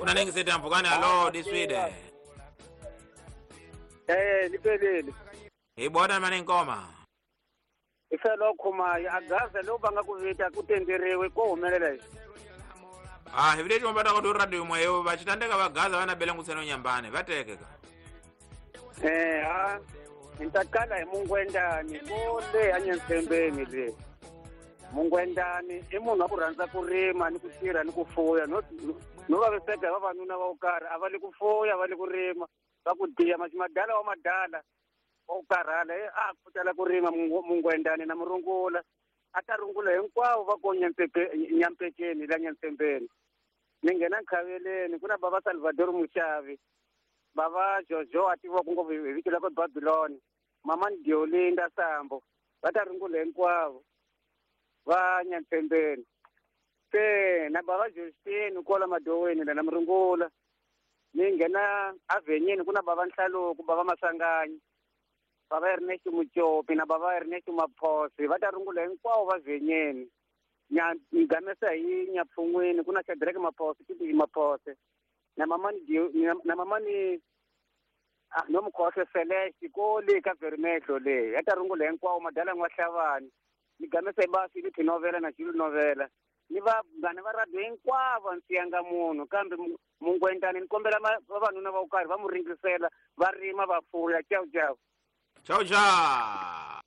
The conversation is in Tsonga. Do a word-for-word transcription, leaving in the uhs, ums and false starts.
Kuna ningi sete mpfukani alo diswide. Eh lipelele. Hi bona mani nkoma. Ifelo khuma agaza lo banga ku vita ku tenderiwe ko humelela. Ah hi vile chomba ta ku radio mweyo va chitandeka vagaza vana bela ngutseno nyambane vatekeka. Eh ha ntakala hi mungwendani ko le anyansembeni le. Mungwendani i munhu wa ku rhandza ku rima ni ku tirha ni ku fuya no no vaviseka hi vavanuna va ku karhi a va le ku fuya va le ku rima va ku diya madala wa madala wa ku karhala a ku tala ku rima mungwendani na murungula a ta rungula hinkwavo va ko nyampekeni la nyansembeni ni nghena nkhaveleni ku na bava Salvador Mushavi bava Jojo a tiviwa ku ngopfu hi vito la ku Babylon mama Diolinda Sambo va ta rungula hinkwavo va nyampembeni se na bava Justine kwala madoweni la na murungula ni nghena avenyeni ku na bava Nhlaluko bava Masanganyi bava Ernest Muchopi na bava Ernest Maphosi va ta rungula hinkwavo va venyeni nya gamesa hi nyapfun'wini ku na Shadrack Maphosi Titi Maphosi na mamani na mamani ah no mukhohle Celeste ko le ka Vermehlo le ya ta rungula hinkwavo madala n'wa hlavani ni gamesa ba Philip novela na Jules novela ni va vanghana va radio hinkwavo ndzi yanga munhu kambe mungwendani ni kombela vavanuna va ku karhi va mu ringisela va rima va fuya ciao ciao ciao ciao.